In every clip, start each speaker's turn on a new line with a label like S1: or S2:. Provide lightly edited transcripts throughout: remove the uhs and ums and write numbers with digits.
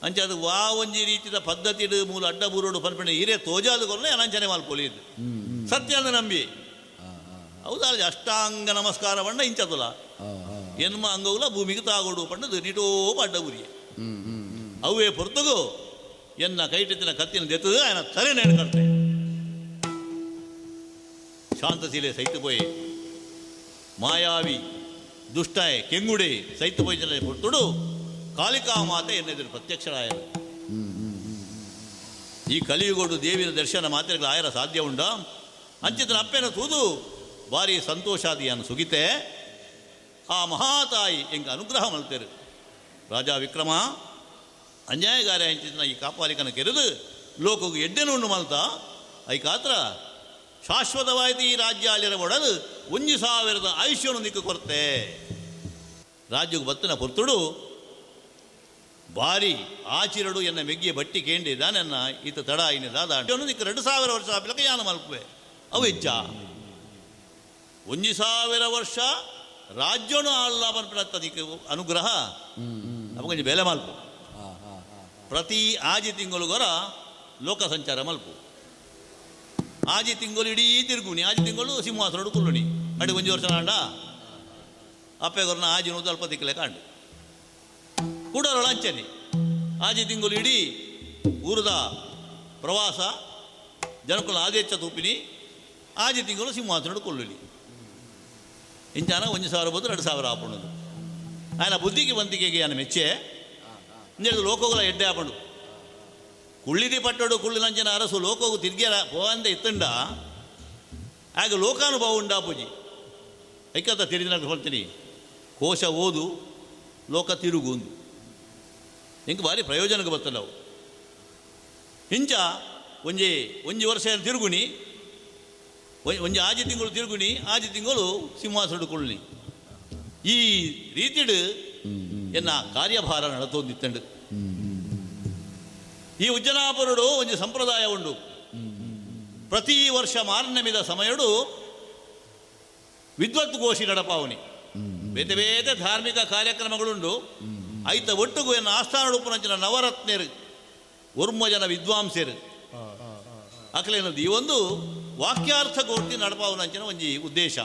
S1: ಅಂಚ ಅದು ವಾ ಒಂಜಿ ರೀತಿದ ಪದ್ಧತಿಡು ಮೂಲ ಅಡ್ಡ ಬೂರೋಡು ಪನ್ಪಣೆ ಹಿರೇ ತೋಜಾದ ಕೊರ್ನ ಅನಂಚನೆ ಮಲ್ಪೊಲಿ ಸತ್ಯ ಅಂದ ನಂಬಿ ಹೌದಾ ಅಷ್ಟಾಂಗ ನಮಸ್ಕಾರ ಪಂಡ ಇಂಚದುಲ ಎನ್ಮ ಅಂಗವುಲ ಭೂಮಿಗೆ ತಾಗೋಡು ಪಂಡದು ನಿಟೋ ಅಡ್ಡ ಬುರಿಯೆ ಅವೇ ಪೊರ್ತುಗು ಎನ್ನ ಕೈಟಿತ್ತಿನ ಕತ್ತಿನ ದೆತ್ತದು ఆయన ತಲೆ ನೇಣು ಕಟ್ಟೆ ಶಾಂತಶೀಲೆ ಸೈತು ಪೋಯಿ ಮಾಯಾವಿ ದುಷ್ಟಾಯ ಕೆಂಗುಡೆ ಸೈತು ಪೋಯಿ ಪೊರ್ತುಡು ಕಾಳಿಕಾ ಮಾತೆ ಎನ್ನೆದುರು ಪ್ರತ್ಯಕ್ಷರಾಯರು. ಈ ಕಲಿಯುಗೋಡು ದೇವಿನ ದರ್ಶನ ಮಾತ್ರೆಗಳು ಆಯರ ಸಾಧ್ಯ ಉಂಡ ಅಂಚಿತನ ಅಪ್ಪೆನ ತೂದು ಭಾರಿ ಸಂತೋಷಾದಿಯನ್ನು ಸುಗಿತೆ. ಆ ಮಹಾತಾಯಿ ಎಂಕ ಅನುಗ್ರಹ ಮಲ್ತೇರು. ರಾಜಾ ವಿಕ್ರಮ ಅನ್ಯಾಯಗಾರ ಅಂಚಿತನ ಈ ಕಾಪಾಲಿಕನ ಕೆರೆದು ಲೋಕಗೂ ಎಡ್ಡೆನು ಉಂಡು ಮಲ್ತ ಐಕಾತ್ರ ಶಾಶ್ವತವಾಯಿತು ಈ ರಾಜ್ಯ ಅಲ್ಲಿರ ಒಡದು 1000 ಆಯುಷ್ಯವನ್ನು ನಿಕ್ಕು ಕೊರತೆ. ರಾಜ್ಯಕ್ಕೆ ಬತ್ತನ ಪೊರ್ತುಡು ಭಾರಿ ಆಚಿರಡು ಎನ್ನ ಮೆಗ್ಗಿಯ ಬಟ್ಟಿ ಕೇಂಡಿ ದಾನನ್ನ ಈತ ತಡ ಇನ್ನ ದಾದ ನಿಕ್ಕ 2000 ವರ್ಷ ಆಪಿಲಕ ಯಾನ ಮಲ್ಪುವೆ ಅವು ಹೆಚ್ಚ 1000 ವರ್ಷ ರಾಜ್ಯನೂ ಅಲ್ಲ ಪನ್ಪಿನತ್ತ ನಿಕ್ಕ ಅನುಗ್ರಹ ನಮಗೊಂಜಿ ಬೆಲೆ ಮಲ್ಪು. ಪ್ರತಿ ಆಜಿ ತಿಂಗಳುಗೊರ ಲೋಕ ಸಂಚಾರ ಮಲ್ಪು. ಆಜಿ ತಿಂಗಳು ಇಡೀ ತಿರುಗುಣಿ ಆಜಿ ತಿಂಗಳು ಸಿಂಹಾಸನಡು ಕುಲ್ಲುಣಿ ಅಡಿ ಒಂಜಿ ವರ್ಷ ನಾಂಡ ಅಪ್ಪೆಗೊರ್ನ ಆಜಿ ನೂತು ಅಲ್ಪ ತಿಕ್ಕಲೆ ಕಾಂಡು ಕೂಡರೋಳ ಅಂಚನೆ ಆಜಿ ತಿಂಗಳು ಇಡೀ ಊರದ ಪ್ರವಾಸ ಜನಕುಲ ಆದೇಚ ತೂಪಿನಿ ಆಜಿ ತಿಂಗಳು ಸಿಂಹಾಸನಡು ಕೊಲ್ಲುಲಿ ಇಂಚಾನ 1000 ಬೋದು 2000 ಆಪುಣದು ఆయన ಬುದ್ಧಿಗೆ ವಂತಿಕೆಗೆ ఆయన ಮೆಚ್ಚೆ ಇಂಜೆದು ಲೋಕಗಳ ಎಡ್ಡೆ ಆಪಂಡು ಕುಳ್ಳಿದಿ ಪಟ್ಟಡು ಕುಳ್ಳಿನಂಚಿನ ಅರಸು ಲೋಕಗೂ ತಿರ್ಗ್ಯಾರ ಪೋವಂದೆ ಇತ್ತಂಡ ಆಗ ಲೋಕಾನುಭವ ಉಂಡಾಪುಜಿ ಐಕತ್ತ ತಿರಿದಿನ ಹೇಳ್ತೀನಿ ಕೋಶ ಓದು ಲೋಕ ತಿರುಗುಂದು ಇಂಕ ಭಾರಿ ಪ್ರಯೋಜನಕ್ಕೆ ಬರ್ತದೆ ನಾವು. ಇಂಚ ಒಂಜಿ ಒಂಜಿ ವರ್ಷ ತಿರುಗುಣಿ ಒಂಜಿ ಆಜಿ ತಿಂಗಳು ತಿರುಗುಣಿ ಆಜಿ ತಿಂಗಳು ಸಿಂಹಾಸನ ಕೊಳ್ಳಿ ಈ ರೀತಿಡು ಎನ್ನ ಕಾರ್ಯಭಾರ ನಡತೊಂದಿತ್ತಂಡು. ಈ ಉಜ್ಜನಾಪುರುಡು ಒಂಜಿ ಸಂಪ್ರದಾಯ ಉಂಡು. ಪ್ರತಿ ವರ್ಷ ಮಾರ್ನಮಿದ ಸಮಯಡು ವಿದ್ವತ್ಗೋಷಿ ನಡಪಾವನಿ ಬೇತೆ ಬೇತೆ ಧಾರ್ಮಿಕ ಕಾರ್ಯಕ್ರಮಗಳುಂಡು. ಐತ ಒಟ್ಟುಗು ಎನ್ನ ಆಸ್ಥಾನ ಉಪನಂಚಿನ ನವರತ್ನರು ಒರ್ಮ ಜನ ವಿದ್ವಾಂಸರು ಅಕಲೇನದು ಈ ಒಂದು ವಾಕ್ಯಾರ್ಥ ಗೋಷ್ಠಿ ನಡಪಾವನಂಚಿನ ಒಂಜಿ ಉದ್ದೇಶ.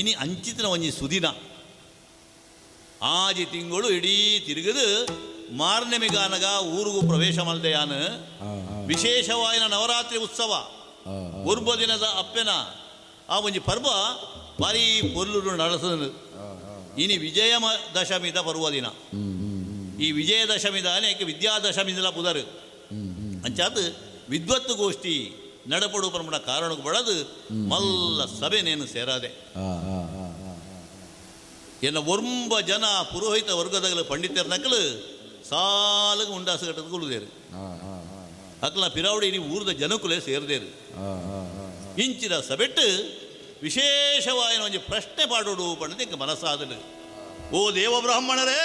S1: ಇನಿ ಅಂಚಿತನ ಒಂಜಿ ಸುದಿನ ಆಜಿ ತಿಂಗಳು ಇಡೀ ತಿರುಗದು ಮಾರ್ನೆಮಿಗಾನಗ ಊರಿಗೂ ಪ್ರವೇಶ ಮಲ್ದೆಯಾನ ವಿಶೇಷವಾಯಿನ ನವರಾತ್ರಿ ಉತ್ಸವ ಒರ್ಬ ದಿನದ ಅಪ್ಪೆನ ಆ ಒಂಜಿ ಪರ್ವ ಭಾರಿ ಪೊರ್ಲುಡು ನಡೆಸದು. ಇನಿ ವಿಜಯ ದಶಮಿದ ಪರ್ವ ದಿನ. ಈ ವಿಜಯದಶಮಿದ ಅನೇಕ ವಿದ್ಯಾದಶಮಿದಲ ಪುದರು ಅಂಚಾತ್ ವಿದ್ವತ್ತು ಗೋಷ್ಠಿ ನಡಪಡು ಪರಮಣ ಕಾರಣಕ್ಕೆ ಬಳದು ಮಲ್ಲ ಸಭೆನೇನು ಸೇರಾದೆ. ಎನ್ನ ಒರ್ಂಬ ಜನ ಪುರೋಹಿತ ವರ್ಗದಗಲು ಪಂಡಿತರ ನಕಲು ಸಾಲಗ ಉಂಡಾಸು ಕಟ್ಟದ ಕೊಲ್ಲುದೇರು ಅಕ್ಲ ಪಿರಾವಡಿ ಇಡೀ ಊರದ ಜನಕುಲೇ ಸೇರದೇರು. ಇಂಚಿನ ಸಬೆಟ್ಟು ವಿಶೇಷವಾಯಿನ ಒಂಜಿ ಪ್ರಶ್ನೆ ಪಾಡೋಡು ಪಂಡದ ಇಂಕ ಮನಸ್ಸಾದಲು. ಓ ದೇವ ಬ್ರಾಹ್ಮಣರೇ,